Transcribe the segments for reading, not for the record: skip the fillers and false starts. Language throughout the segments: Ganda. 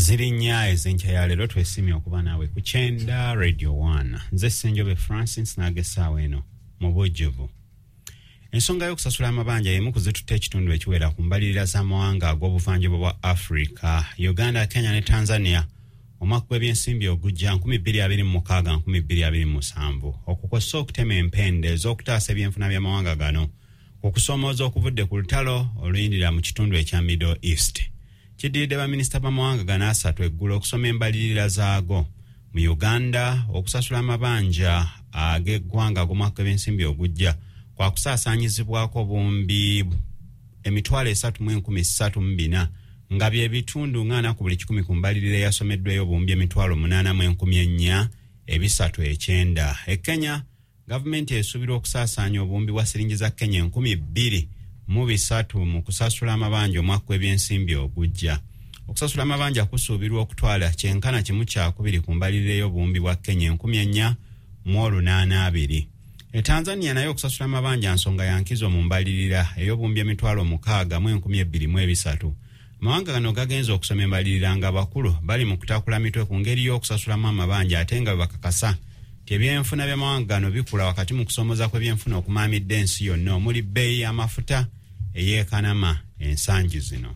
Ziri 4 ez'enkya ya leero. Twesiimye okuba naawe ku Kyenda Radio 1. Nze Ssenjobe Francis, n'ag'essaawa eno mu bujjuvu. Ensonga y'okusasula amabanja y'emu ku zitutte ekitundu ekiwera ku mbalirira z'amawanga ag'obuvanjuba bwa Africa, Uganda, Kenya ne Tanzania, omwaka gw'ebyensimbi ogujja 2026-2027, okukosa okutema empenda ez'okutaasa ebyenfuna by'amawanga gano okusoomooza okuvudde ku lutalo oluyindira mu kitundu ekya Middle East. Kiddiridde baminisita b'amawanga gano asatu eggulo okusoma embalirira zaago. Mu Uganda, okusasula amabanja ag'eggwanga ag'omwaka gw'ebyensimbi ogujja kwakusaasaanyizibwako obuwumbi 334,000, nga bye bitundu 40 ku buli 100 ku mbalirira eyasomeddwayo, obuwumbi 804,390. E Kenya, gavumenti esuubirwa okusaasaanya obuwumbi bwa siringi za Kenya 2,003 mu kusasula amabanja omwaka gw'ebyensimbi ogujja. Okusasula amabanja kusuubirwa okutwala kyenkana 1/2 ku mbalirira ey'obuwumbi bwa Kenya 4,820. E Tanzania nayo okusasula amabanja nsonga ya nkizo mu mbalirira ey'obuwumbi 62,203. Amawanga gano gagenza okusoma embalirira nga abakulu bali mu kutakula mitwe ku ngeri y'okusasulamu amabanja, ate nga bwe bakakasa nti ebyenfuna by'amawanga gano bikula wakati mu kusoomoza kw'ebyenfuna okumaamidde ensi yonna, omuli bbeeyi y'amafuta eyeekanama ensangi zino.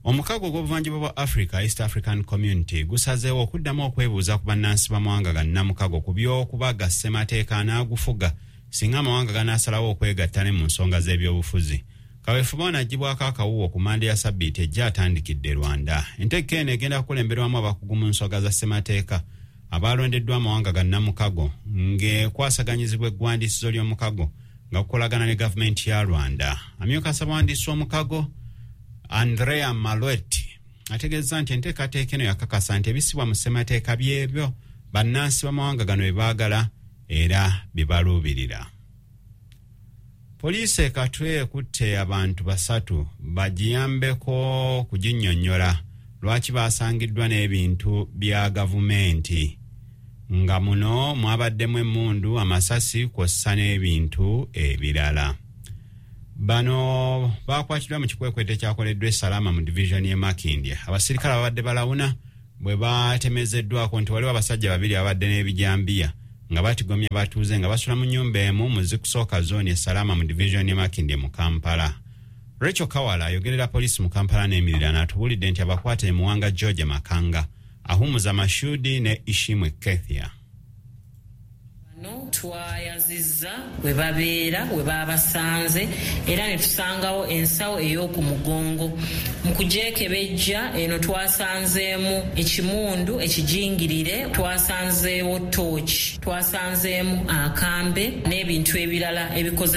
Omukago ogw'obuvanjuba bwa Africa, East African Community, gusazeewo okuddamu okwebuuza ku bannansi b'amawanga gannamukago ku by'okubaga ssemateeka anaagufuga singa amawanga ganaasalawo okwegatta ne mu nsonga z'ebyobufuzi. Kaweefube ono aggyibwako akawuwo ku Mande ya sabbiiti ejja atandikidde Rwanda. Entegeka eno egenda kukulemberwamu abakugu mu nsonga za ssemateeka abalondeddwa amawanga gannamukago, ng'ekwasaganyizibwa eggwandiisizo ly'omukago nga kukolagana ne gavumenti ya Rwanda. Amyuka ssabawandiisi w'omukago, Andrea Malweti, ategeeza nti enteekateeka eno yakakasa nti ebisibwa mu ssemateeka byebyo bannansi b'amawanga gano bye baagala era bye baluubirira. Poliisi e Katwe ekutte abantu basatu bagiyambeko kuginnyonnyola lwaki basangiddwa n'ebintu bya gavumenti, nga muno mwabaddemu emmundu, amasasi kw'ossa n'ebintu ebirala. Bano bakwatiddwa mu kikwekweto ekyakoleddwa e Salama mu divisioni y'e Makindye, abasirikale ababadde balawuna bwe batemezeddwako nti waliwo abasajja babiri ababadde n'ebijambiya nga batigomya batuuze nga basula mu nnyumba emu mu zikusooka zooni e Salama mu divisioni y'e Makindye mu Kampala. Rachel Kawala ayogerera poliisi mu Kampala n'emiriraano atubuulidde nti abakwate e Muwanga George Makanga, Ahumuza Mashudi ne Ishimwe Kethia. Bano twayazizza we babeera we babasanze era ne tusangawo ensawo ey'oku mugongo. Mu kugyekebejja eno twasanzeemu ekimundu ekijingirire, twasanzeewo tooki, twasanzeemu akambe n'ebintu ebirala ebikoze.